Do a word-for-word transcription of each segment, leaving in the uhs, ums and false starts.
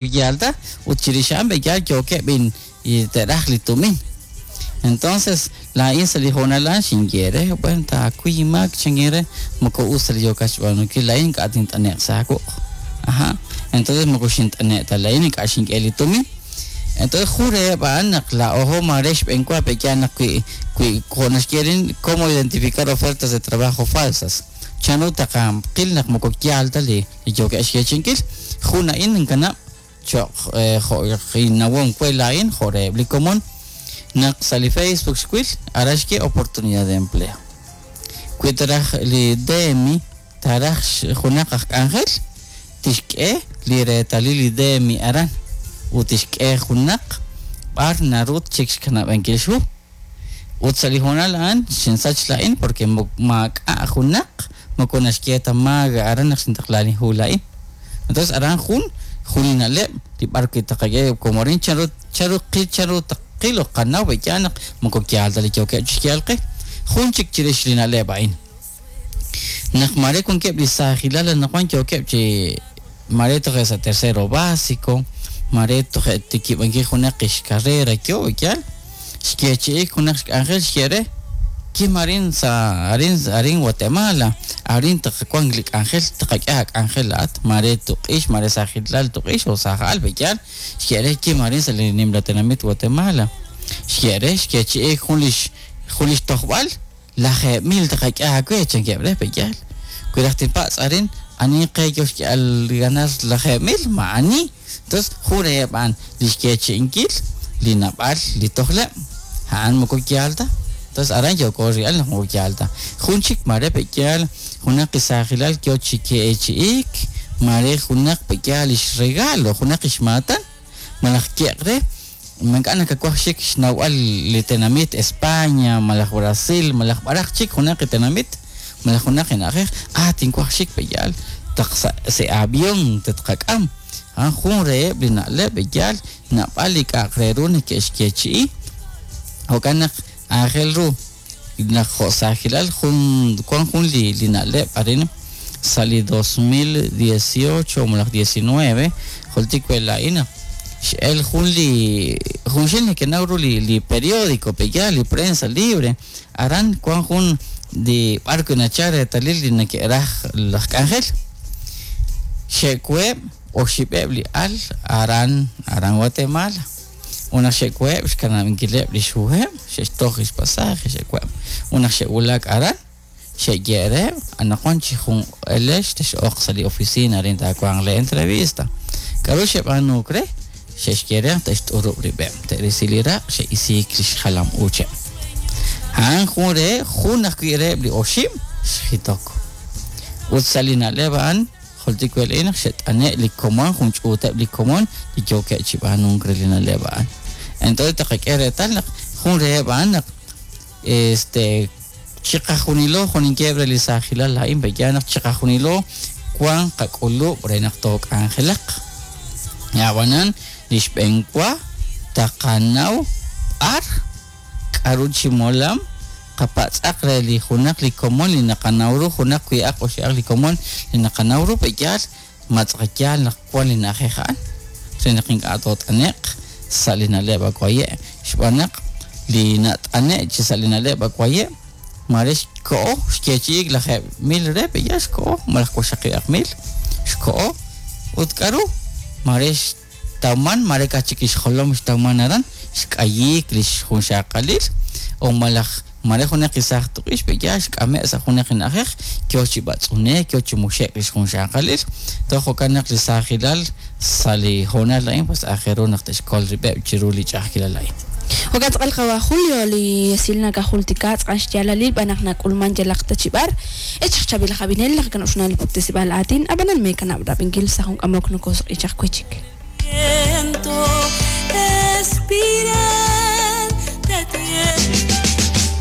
Yalta ut chirix a'an b'eyaal yookeb' in te'raj li tumin. Entonces laa'in sa' li hoonal a'an xinye re, bueno, taakuy inmaak chankin re, moko us ta li yookat xb'aanunkil laa'in ink'a' tint'ane'q sa' aawuq'. Aja. Entonces moko xint'ane' ta laa'in ink'a' xink'e li tumin. Entonces jun reheb' a'an naq laa'ojo maare xb'eenwa pe'yaal naq wi wi jo' naxye rin cómo identificar ofertas de trabajo falsas. Chanru taqaqil naq moko yaal ta li li yookeb' xyeechi'inkil. Jun a'in inkanab' cho'q jo' innawom we laa'in jo' reheb' li komon naq sa' li Facebook xwil aran xye oportunidad de empleo. Wi taraj li D M I taraj junaq aj k'anjel tixk'e li reetalil li D M I aran ut tixk'e junaq b'ar naru chik xkanab'ankil xhu. Ut sa' li hoonal a'an xinsach laa'in porque maak'a' junaq moko naxye ta maaga aran naq xintaqla li hu laa'in. Entonces aran jun jun li na'leb' li b'ar wi taqak'e como rin chanru chanru qil chanru taqil o qanaw b'eyaal naq moko yaal ta li yookeb' chixyaal qe. Jun chik chirix li na'leb' a'in. Naq mare wankeb' li saajilal anaqwan yookeb' chi mare toje' sa' tercero básico, mare toje' tikib'ankil junaq xcarrera yo yaal, xyeechi'ik junaq xk'anjel xye re, kim arin sa' arin arin Guatemala, arin taqawank li k'anjel, taqak'e ak'anjel laat, mare tuq'ix, mare saajilal tuq'ix o saajal b'eyaal, xye re kim arin sa' li nimla tenamit Guatemala. Xye re xyeechi'ik jun lix jun lix tojb'al, lajeeb' mil taqak'e aawe chankeb' re b'eyaal. Wi raj tinpatz' arin, ani qe yo xk'e'al ganar lajeeb' mil, ma ani. Entonces, jun reheb' a'an li xyeechi'inkil li nab'al li tojleb', a'an moko yaal ta. Entonces, aran yooko real naq moko yaal ta. Jun chik mare b'eyaal junaq saajilal yo chi keechi'ik, mare junaq b'eyaal lix regalo, junaq ixmaatan, malaj yeq re, mank'a' nakawaj xik xnawb'al li tenamit España, malaj Brasil, malaj b'araj chik junaq tenamit, malaj junaq na'ajej, ah, tinwaj xik b'eyaal, taq sa' se avión tetqak'am. Ah, jun reheb' li na'leb' b'eyaal nab'al li k'a'aq re ru neke'xyeechi'i. Jo'kan naq aajel ru naq jo' saajilal jun wan jun li li na'leb' arin sa' li dos mil dieciocho malaj diecinueve, jultik we laa'in naq x'el jun li junxil neke'naw ru li li periódico b'eyaal li prensa libre, aran wan jun li b'ar wi nachal reetalil li neke'raj laj k'anjel. Xe'kuheb' oxib'eb' li al aran aran Guatemala. Una xe'kuheb' xkanab'inkileb' li xhuheb', xe'xtoj lix pasaje, xe'kuheb'. Una xe'wulak aran, xe'ye'reb', anaqwan chi jun elex tex'oq sa' li oficina arin taawanq le entrevista. K'aru xeb'aanuk re? Xe'xye'reb' te'xt'urub' rib'eb', te'risi li raq', xe'isiik li xjalam uucheb'. A'an jun re, jun ajwi' reheb' li oxib' xjitok. Ut sa' li na'leb' a'an, jultik wel naq xe't'ane' li komon, jun ch'uuteb' li komon, li yookeb' chi b'aanunk re li na'leb' a'an. Entonces taqak'e reetal naq jun reheb' a'an naq, este, chiqajunilo juninkeb' re li saajilal laa'in b'eyaal naq chiqajunilo wan qak'ulub' re naq took'anjelaq. Ab'anan li xb'eenwa taqanaw b'ar k'aru chi molam qapatz'aq re li junaq li komon li naqanaw ru, junaq wi'aq oxi'aq li komon li naqanaw ru b'eyaal matz'aqyaal naq wan li na'ajej a'an re naq ink'a' toot'ane'q sa' li na'leb' akwaye'. Xb'aan naq li nat'ane' chi sa' li na'leb' akwaye' mare xko'o xyeechi'ik lajeeb' mil re b'eyaal xko'o malaj waxaqi'aq mil xko'o ut k'aru mare xtawman mare kachik xjolom xtawman aran xk'ayiik li xjunxaqalil o malaj mare junaq isaaj tuq'ix b'eyaal xk'ame' sa' junaq na'ajej yo chi b'atz'unek yo chi muxek li xjunxaqalil. Toj jo'kan naq li saajilal sa' li hoonal a'in pues aajel ru naq te'xkol rib'eb' chiru li ch'a'ajkilal a'in. Jo'kan tz'aqal qawa Julio li esil nakajultika tz'aqal xyaalalil b'an naq nak'ulman yalaq ta chi b'ar echaq chab'il jab'inel naq kanob'xunal li puktesib'al aatin ab'anan meekanab' rab'inkil sa' jun k'amok nokosq'ichaq wichik. Espiral de tiempo.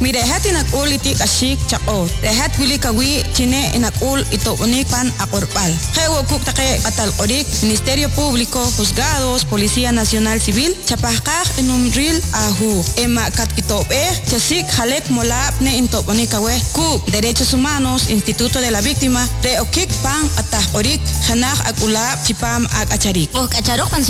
Wirehat inak'ul itik'axik chaq'o. Rehat wili kawi chine inak'ul itob'onik pan aq'orb'al. Je'wa kuk taqe q'atal q'orik, Ministerio Público, Juzgados, Policía Nacional Civil, chapajqaj inumril ahu. Ema katkitob'ej, chasik jalek molab ne intob'onik awe. Kuk, Derechos Humanos, Instituto de la Víctima, re okik pan q'ataj q'orik, janaj ak'ulab chipam ak'acharik. Oj k'acharoj pan